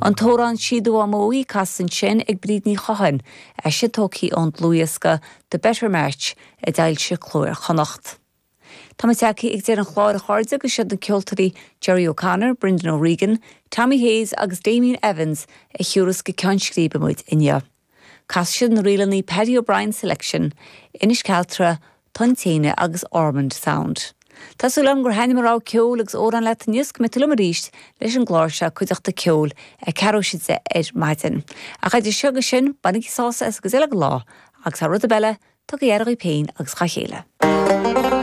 An t-amhrán Sí Do Mhamó Í casta ansin ag Bríd Ní Chotháin, é sin tógtha ón dlúthdhiosca The Better March a d'fhoilsigh Cló Iar-Chonnacht. Tá muid tagtha ag deireadh an chláir a chairde agus siad na ceoltóirí Gerry O'Connor, Brendan O'Regan, Tommy Hayes agus Damien Evans a thiúrfas go ceann scríbe muid inniu. Casfaidh siad na ríleanna Paddy O'Brien Selection, Inis Cealtra, Tonn Téine agus Ormond Sound. Tá súil agam gur thaitnigh mo rogha ceoil agus amhrán leat inniu is go mbeidh tú liom arís leis an gclár seo Cuideachta Ceoil ag ceathrú théis 10 ar maidin. Ach idir seo agus sin, bainigí sásamh as an gcuid eile den lá agus thar rud ar bith eile, tugaigí aire dhaoibh féin agus dhá chéile.